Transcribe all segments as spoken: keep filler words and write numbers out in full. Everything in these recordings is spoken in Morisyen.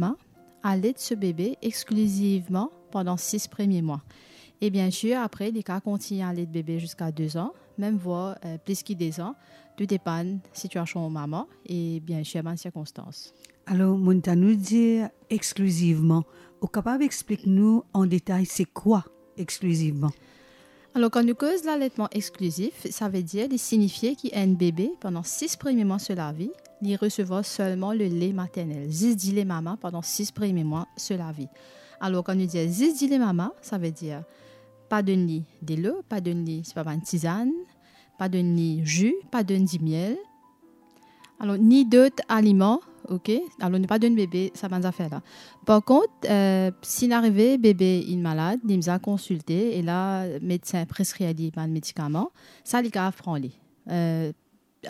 mama, alet so bebe exklizivman pandan sis premie mwa. E bien sir, apre, li kav kontign alet bebe ziska de zan, mem vwar, eh, plis ki de zan, tou depann sitiasion mama e bien sir bann sirkonstans. Alor, mo'nn tann ou dir exklizivman. Ou kapav explik nou an detay se kwa exklizivman? Alor, kan nou koz laletman exklizif, savedir li sinifie ki enn bebe, pandan sis premie mwa so lavi, li resevwar selman le lait maternel, zis dile mama pandan sis premie mwa so lavi. Alor, kan nou dir zis dile mama, savedir pa donn li delo, pa donn li, sepa bann tizann, pa donn li zi, pa donn dimiel, alor, ni dot aliman, ok? Alor, nou pa donn bebe sa bann zafer la. Par kont, eh, si inn arive bebe inn malad, li bizin konsilte, e la medsin preskrir li bann medikaman, sa li kav pran li. Eh,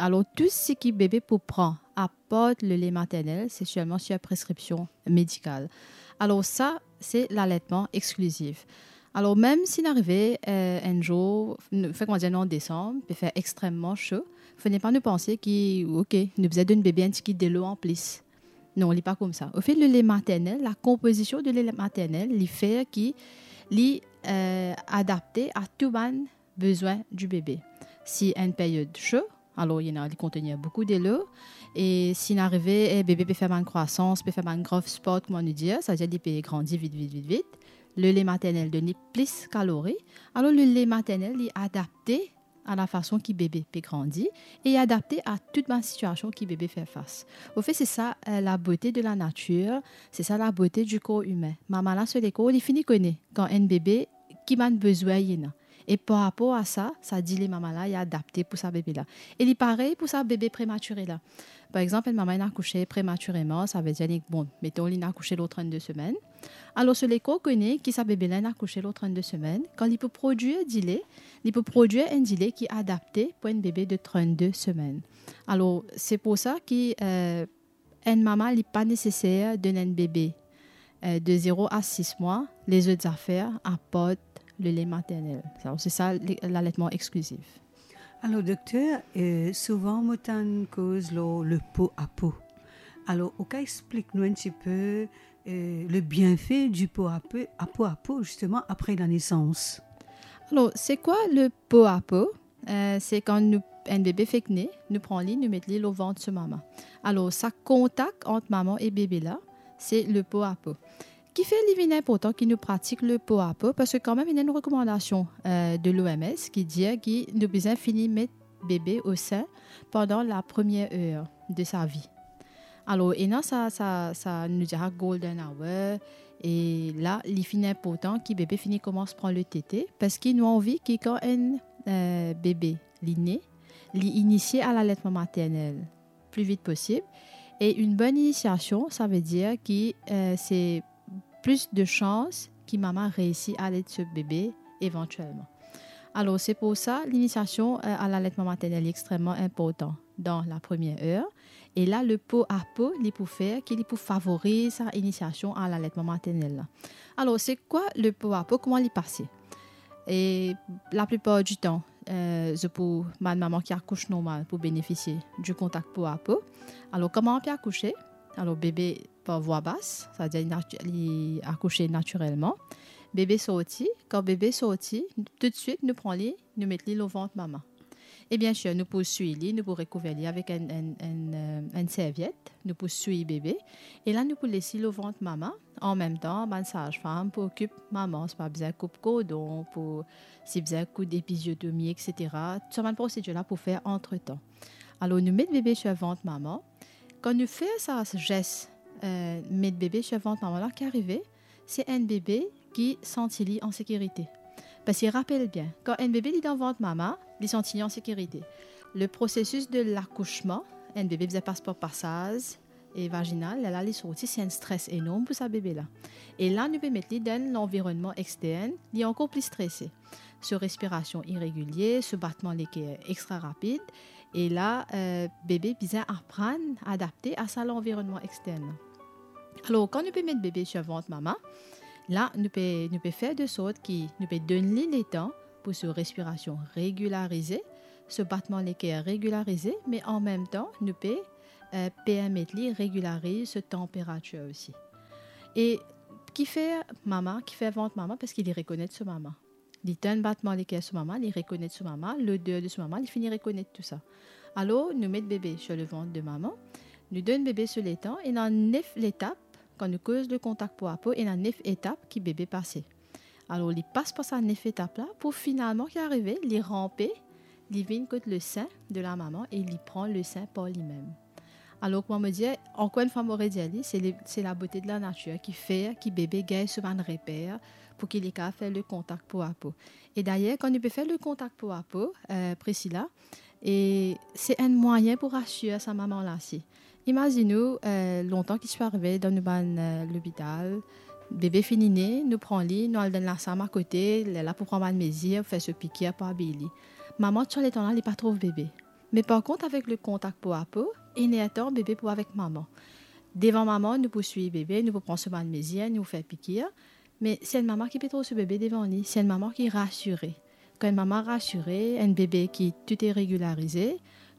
alor, tou seki bebe pou pran, apar le lait maternel, se selman sir preskripsion medikal. Alor, sa, se laletman exklizif. Alor, mem si inn arive, eh, enn zour, nou, fek, kouma dir, nou an desanm, pe fer extrememan so, fode pa nou panse ki, ok, nou bizin donn bebe enn tigit delo an plis. Non, li pa koumsa. Anfet, le lait maternel, la konpozision de le lait maternel, li fer ki li, eh, adapte a tou bann bezwin di bebe. Si enn period so, alor, ena, li kontenir boukou delo, e si inn arive, eh, bebe pe fer bann krwasans, pe fer bann growth spurt, kouma nou dir, savedir li pe grandi vit, vit, vit, vit, le lait maternel donn li plis kalori, alor le lait maternel, li adapte a lafason ki bebe pe grandi e adapte a tou bann sitiasion ki bebe fer fas. Anfet, se sa, eh, labote de lanatir, se sa labote di kor imin. Mama la, so lekor, li fini kone kan enn bebe, ki bann bezwin li ena. E par rapor a sa, sa dile mama la, li adapte pou sa bebe la. E li parey pou sa bebe prematire la. Par exanp, enn mama inn akouse prematireman, savedir li, bon, meton, li inn akouse lor trennde semenn. Alor, so lekor kone ki sa bebe la inn akouse lor trennde semenn, kan li pou prodwir dile, li pou prodwir enn dile ki adapte pou enn bebe de trennde semenn. Alor, se pou sa ki, eh, enn mama, li pa neseser donn enn bebe, eh, de zero a sis mwa lezot zafer apar le lait maternel. Alor, se sa, le, laletman exklizif. Alor, dokter, eh, souvan mo tann koz lor le po a po. Alor, ou kav explik nou enn tipe, eh, le bienfe di po a po, a po a po, zisteman, apre lanesans? Alor, se kwa le po a po? Eh, se kan nou, enn bebe fek ne, nou pran li, nou met li lor vant so mama. Alor, sa kontak ant mama e bebe la, se le po a po. Kifer li vinn inportan ki nou pratik le po a po? Parski kanmem, ena enn rekomandasion, eh, de l'O M S ki dir ki nou bizin fini met bebe o sin pandan la première heure de sa vie. Alor, ena sa, sa, sa, nou dir sa golden hour, e la, li finn inportan ki bebe fini koumans pran le tete, parski nou anvi ki kan enn, eh, bebe, li ne, li inisie a laletman maternel pli vit posib. E enn bonn inisiasion, savedir ki, eh, se plis de sans ki mama reisi alet so bebe evantielman. Alor, se pou sa, linisiasion, eh, a laletman maternel li extrememan inportan dan la première heure. E la, le po a po, li pou fer ki li pou favoriz sa inisiasion a laletman maternel la. Alor, se kwa le po a po? Kouma li pase? E laplipar ditan, eh, zot pou, bann mama ki akous normal pou benefisie di kontak po a po. Alor, kan mama pe akouse, alor bebe par vwa bas, savedir li nati-, li akouse natirelman. Bebe sorti, kan bebe sorti, toutswit nou pran li, nou met li lor vant mama. E bien sir, nou pou swiy li, nou pou rekouver li avek enn, enn, enn, eh, enn serviet, nou pou swiy bebe, e la nou pou les li lor vant mama, anmemtan, bann saz-fam pou okip mama, si pa bizin koup kordon, pou, si bizin koud epiziotomi, et cetera. Tou sa bann prosedir la pou fer antretan. Alor, nou met bebe sir vant mama. Kan nou fer sa zes, eh, met bebe sir vant mama la, ki arive? Se enn bebe ki santi li an sekirite. Parski rapel bien, kan enn bebe li dan vant mama, li santi li an sekirite. Le prosesis de lakousman, enn bebe bizin pas par pasaz e vaginal, lerla li sorti, se enn stres enorm pou sa bebe la. E la, nou pe met li dan lanvironnman extern, li ankor pli strese. So respirasion iregilie, so batman leker extra rapid, e la, eh, bebe bizin aprann adapte a sa lanvironnman extern la. Alor, kan nou pe met bebe sir vant mama, la, nou pe, nou pe fer de sort ki nou pe donn li letan pou so respirasion regilarize, so batman leker regilarize, me anmemtan, nou pe, eh, permet li regilariz so tanperatir osi. E kifer mama, kifer vant mama? Parski li rekonet so mama. Li tann batman leker so mama, li rekonet so mama, loder de so mama, li fini rekonet tou sa. Alor, nou met bebe sur le vant de mama, nou donn bebe so letan, ena nef letap, kan nou koz le kontak po a po, ena nef etap ki bebe pase. Alor, li pas par sa nef etap la, pou finalman ki arive, li ranpe, li vinn kot le sein de la mama e li pran le sein par limem. Alor, kouma mo dir, ankor enn fwa mo redir li, se le, se labote de lanatir ki fer ki bebe gagn so bann reper pou ki li kapav fer le kontak po a po. E dayer, kan nou pe fer le kontak po a po, eh, Priscilla, e se enn mwayin pou rasir sa mama la si. Imazinn ou, eh, lontan ki ti pe arive dan nou bann, eh, lopital, bebe fini ne, nou pran li, nou al dan lasam akote, lerla pou pran bann mezir, fer so pikir, pou abiy li. Mama, tou letan la, li pa trouv bebe. Me par kont, avek le kontak po a po, enn er tan, bebe pou avek mama. Devan mama, nou pou swiv bebe, nou pou pran so bann mezir, nou pou fer pikir. Me se enn mama ki pe trouv so bebe devan li, se enn mama ki rasire. Kan enn mama rasire, enn bebe ki tou e regilarize,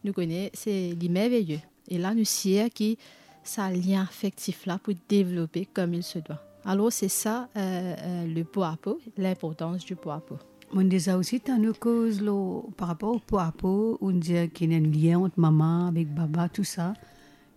nou kone se li merveye. E la, nou sir ki sa lien afektif la pou devlope comme il se doit. Alor, se sa, eh, eh, le po a po, linportans di po a po. Monn deza osi tann ou koz lor, par rapor o po a po, ou'nn dir ki ena enn lien ant mama avek baba, tou sa,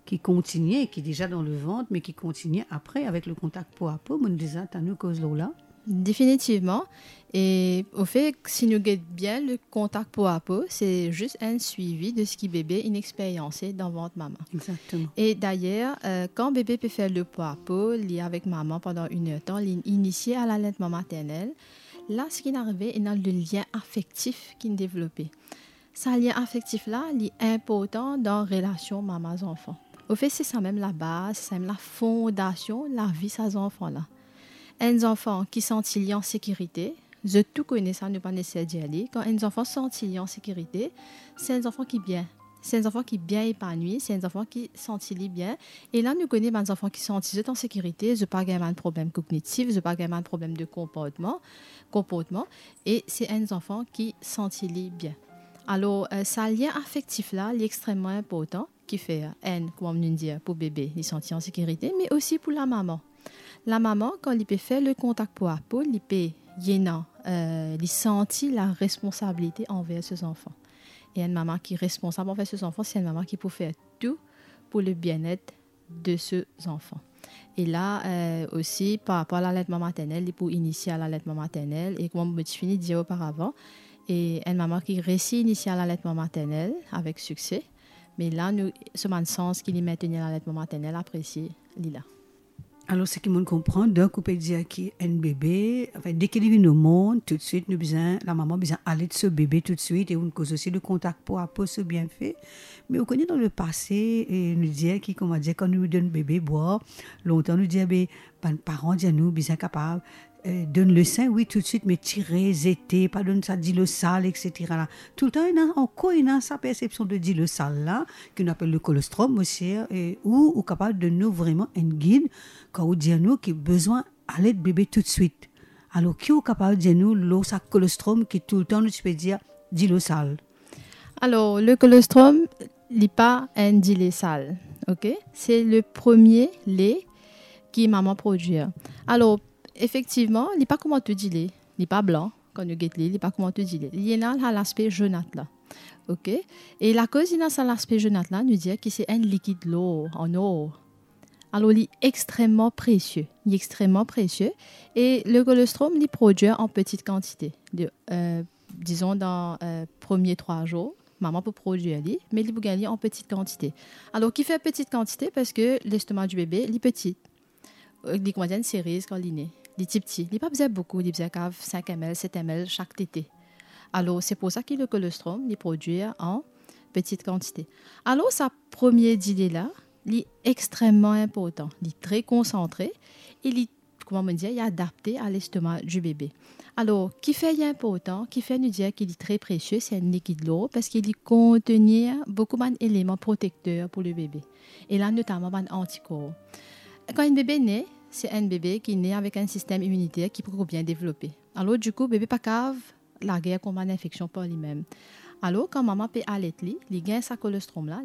ki kontinie, ki deza dan le vant, me ki kontinie apre avek le kontak po a po. Monn deza tann ou koz lor la. Definitivman. E ofe, si nou get bien, le kontak po a po, se zis enn swivi de seki bebe inn experyanse dan vant mama. Exactement. E dayer, eh, kan bebe pe fer le po a po, li avek mama pandan enn er tan, li inisie a laletman maternel. La, seki inn arive, ena le lien afektif ki'nn devlope. Sa lien afektif la, li inportan dan relasion mama-zanfan. Ofe, se sa mem labaz, se sa mem lafondasion lavi sa zanfan la. Enn zanfan ki santi li an sekirite, zot tou kone sa, nou pa neseser dir li. Kan enn zanfan santi li an sekirite, se enn zanfan ki bien. Se enn zanfan ki bien epanwi, se enn zanfan ki santi li bien. E la, nou kone bann zanfan ki santi zot an sekirite, zot pa gagn bann problem kognitif, zot pa gagn bann problem de konportman, konportman, e se enn zanfan ki santi li bien. Alor, eh, sa lien afektif la, li extreman inportan. Kifer, enn, kouma nou dir, pou bebe, li santi an sekirite, me osi pou lamama. Lamama, kan li pe fer le kontak po a po, li pe, li ena, eh, li santi laresponsabilite anver so zanfan. E enn mama ki responsab anver so zanfan, se enn mama ki pou fer tou pou le bienet de so zanfan. E la, eh, osi, par rapor a laletman maternel, li pou inisie a laletman maternel. E kouma mo ti fini dir oparavan, e enn mama ki resi inisie a laletman maternel avek sikse, me la, nou, so bann sans ki li maintenir laletman maternel, apresie li la. Alor, seki monn konpran, donk, ou pe dir ki enn bebe, anfin, deki li vinn o mond, toutswit, nou bizin, lamama bizin alet so bebe toutswit, e ou'nn koz osi de kontak po a po, so bienfe. Me ou kone, dan lepase, e nou dir ki, kouma dir, kan nou donn bebe bwar, lontan nou dir, be, bann paran dir nou bizin kapav, eh, donn le sein, wi, toutswit, me tire, zete, pa donn sa dilo sal, et cetera la. Toultan, ena, ankor ena sa persepsion de dilo sal la, ki nou apel le colostrum osi, e ou, ou kapav donn nou vreman enn gid, kan ou dir nou ki bizin alet bebe toutswit. Alor, ki ou kapav dir nou lor sa colostrum ki toultan nou ti pe dir dilo sal? Alor, le colostrum, li pa enn dile sal, ok? Se le premie le ki mama prodwir. Alor, efektivman, li pa kouma tou dile, li pa blan, kan nou get li, li pa kouma tou dile. Li ena la, laspe zonat la, ok? E lakoz li ena sa laspe zonat la, nou dir ki se enn likid lor, an or. Alor, li extreman presie, li extreman presie, e le colostrum, li prodwir an peti kantite. De, eh, dizon, dan, eh, premie trwa zour, mama pou prodwir li, me li pou gagn li an peti kantite. Alor, kifer peti kantite? Parski lestoma di bebe, li peti. Eh, li kouma dir enn seriz kan li ne. Li tipti. Li pa bizin boukou, li bizin kav sink M L, set M L sak tete. Alor, se pou sa ki le colostrum, li prodwir an peti kantite. Alor, sa premie dile la, li extreman inportan, li tre konsantre, e li, kouma mo dir, li adapte a lestoma di bebe. Alor, kifer li inportan, kifer nou dir ki li tre presie, se enn likid lor, parski li kontenir boukou bann eleman protekter pou le bebe. E la, notaman bann antikor. Kan enn bebe ne, se enn bebe ki ne avek enn sistem iminiter ki poko bien devlope. Alor, dikou, bebe pa kav lager kont bann infeksion par limem. Alor, kan mama pe alet li, li gagn sa colostrum la,